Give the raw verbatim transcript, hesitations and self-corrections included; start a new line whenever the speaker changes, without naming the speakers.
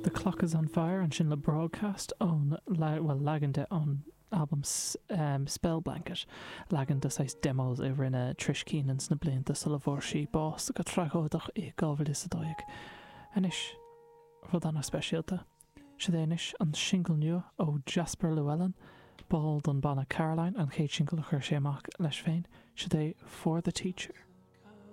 The Clock is on Fire ansin le Broadcast ón well leagan de ón album um, Spell Blanket leagan de saghas demos a rinne Trish Keenan sna blianta sula bhfuair sí bás go tragóideach i dhá mhíle is a dó dhéag. Anois rud an-speisialta. Seo anois an singil nua ó Jasper Llewellyn, ball den banna Caroline an chéad singil a chuir sé amach leis féin, seo é For the Teacher.